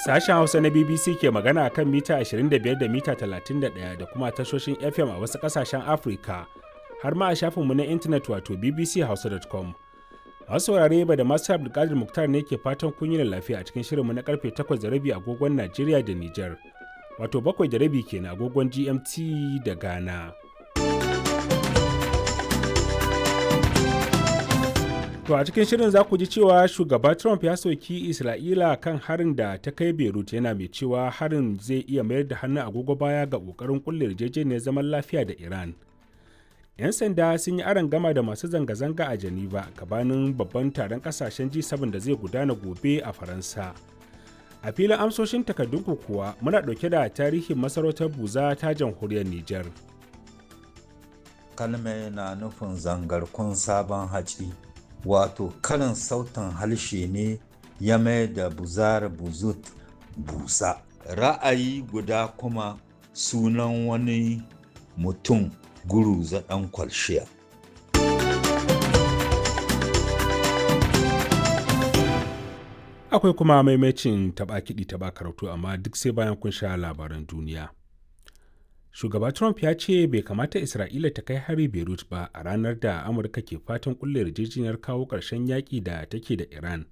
Sashen Hausa na BBC ke magana kan mita 25 da mita 31 da kuma tashoshin FM a wasu ƙasashen Afirka, har ma a shafinmu na intanet wato bbchausa.com. Masu saurare ba da masu Abdulkadir Muktar ne ke fatan kun yi lafiya a cikin shirinmu na karfe 8:30 agogon Najeriya da Nijar, wato 7:30 kenan agogon GMT da Ghana. To a cikin shirin za ku ji cewa shugaba Trump ya soki Isra'ila kan harin da ta kai Beirut, yana mai cewa harin zai iya mayar da hannun agogo baya ga ƙoƙarin kulle yarjejeniyar zaman lafiya da Iran. 'Yan sanda sun yi aron gama da masu zanga-zanga a Geneva gabanin babban taron kasashen G7 da zai gudana gobe a Faransa. A filin amsoshin takardunku kuwa muna ɗauke da tarihin masarautar Buza ta jamhuriyar Nijar. Kalme na nufin zangarkun sabon haci. Wato karin sautin harshe ne ya mai da buzar buzut busa. Ra'ayi guda kuma sunan wani mutum Guruza ɗan kwalshiya. Akwai kuma maimacin taɓa kiɗi taɓa karatu, amma duk sai bayan kun sha labaran duniya. Shugaba Trump ya ce bai kamata Isra'ila ta kai hari Beirut ba a ranar da Amurka ke fatan kulle yarjejeniyar kawo ƙarshen yaƙi da take da Iran.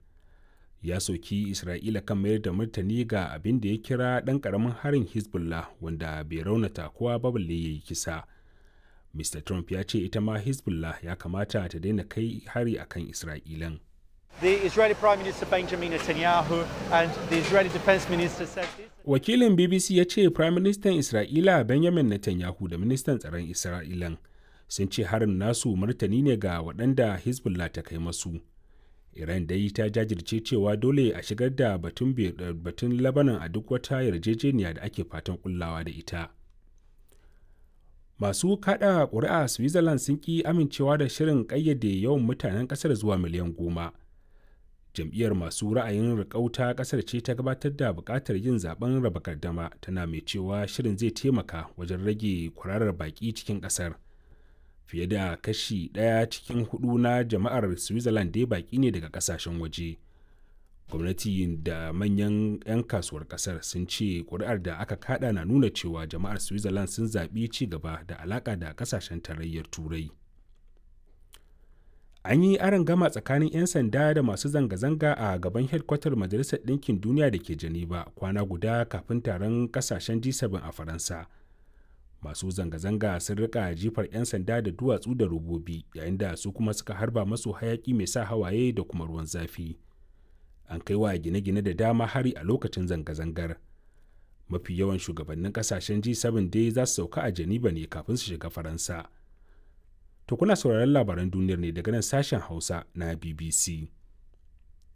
Ya soki Isra'ila kan mayar da martani ga abin da ya kira ɗan ƙaramin harin Hezbollah wanda bai raunata kowa ba balle ya yi kisa. Mr. Trump ya ce ita ma Hezbollah ya kamata ta daina kai hari akan Isra'ilan. The Israeli Prime Minister Benjamin Netanyahu and the Israeli Defense Minister said this. Wakilin BBC ya ce Prime Minister Isra'ila Benjamin Netanyahu da Ministan Tsaron Isra'ilan sun ce harin nasu martani ne ga waɗanda Hezbollah ta kai masu. Iran dai ta jajirce cewa dole a shigar da batun, batun Lebanon a duk wata yarjejeniya da ake fatan kullawa da ita. Masu kada ƙuri'a Switzerland sun ƙi amincewa da shirin ƙayyade yawan mutanen ƙasar zuwa miliyan 10. Jam'iyyar masu ra'ayin riƙau ƙasar ce ta gabatar da buƙatar yin zaben raba gardama, tana mai cewa shirin zai taimaka wajen rage kwararar baƙi cikin ƙasar. Fiye da kashi ɗaya cikin hudu na jama'ar Switzerland dai baƙi ne daga ƙasashen waje. Gwamnati da manyan 'yan kasuwar ƙasar sun ce ƙuri'ar da aka kada na nuna cewa jama'ar Switzerland sun zaɓi ci gaba da alaƙa da ƙasashen Tarayyar Turai. An yi gama tsakanin 'yan sanda da masu zanga-zanga a gaban hedkwatar Majalisar Ɗinkin Duniya da ke Geneva, kwana guda kafin taron kasashen G7 a Faransa. Masu zanga-zanga sun rika jifar 'yan sanda da duwatsu da robobi, yayin da su kuma suka harba masu hayaki mai sa hawaye da kuma ruwan zafi. An kai wa gine-gine da dama hari a lokacin zanga-zangar. Mafi yawan shugabannin kasashen G7 dai za su sauka a Geneva ne kafin su shiga Faransa. To kuna sauraron labaran duniyar ne daga nan sashen Hausa na BBC.